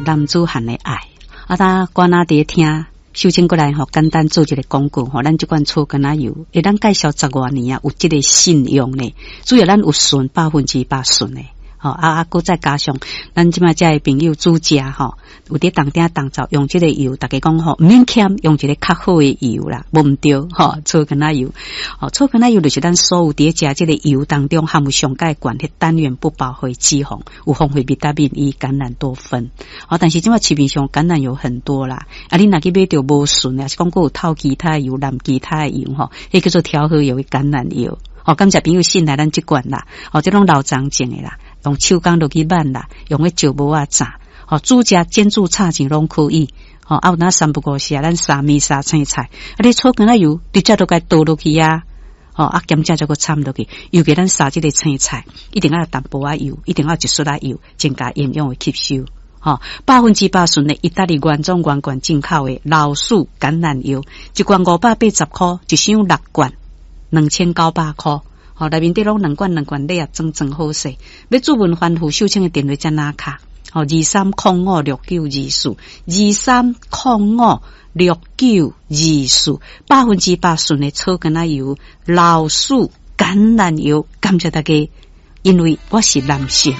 男子漢的愛。啊，他關仔佇聽，秀清過來吼，簡單做一個廣告吼，咱這罐草柑仔油，會咱介紹十外年啊，有這個信用呢。主要咱有純100%純的。吼啊啊！閣再加上咱這擺遮的朋友煮食吼，有佇當鼎當灶用這個油，逐家講吼毋免儉，用一個較好的油啦，無毋對吼，草柑仔油，吼草柑仔油就是咱所有佇咧食這個油當中含有上蓋懸彼單元不飽和脂肪，有豐富維他命 E、橄欖多酚。吼，但是這擺市面上橄欖油很多啦，啊，你若去買著無純的，抑是講閣有透其他油、淋其他的油吼，彼叫做調和油的橄欖油。吼，感謝朋友信賴咱這罐啦，吼，這攏老欉種的啦。用手工落去挽啦，用彼石磨仔榨，吼，煮食煎煮炒煎攏可以，吼，啊有哪三不五時啊，咱沙麵沙青菜，啊你草柑仔油直接都共倒落去啊，吼，啊兼且再閣摻落去，尤其咱沙這個青菜，一定愛淡薄仔油，一定愛一撮仔油，增加營養的吸收，吼，100%純的意大利原裝原罐進口的老樹橄欖油，一罐580箍，一箱六罐，2900箍。吼，內面底攏兩罐兩罐禮盒裝裝好勢。欲諮詢番戶秀清的電話這哪敲？吼，23056924，23056924，100%純的草柑仔油，老樹橄欖油，感謝大家，因為我是男性。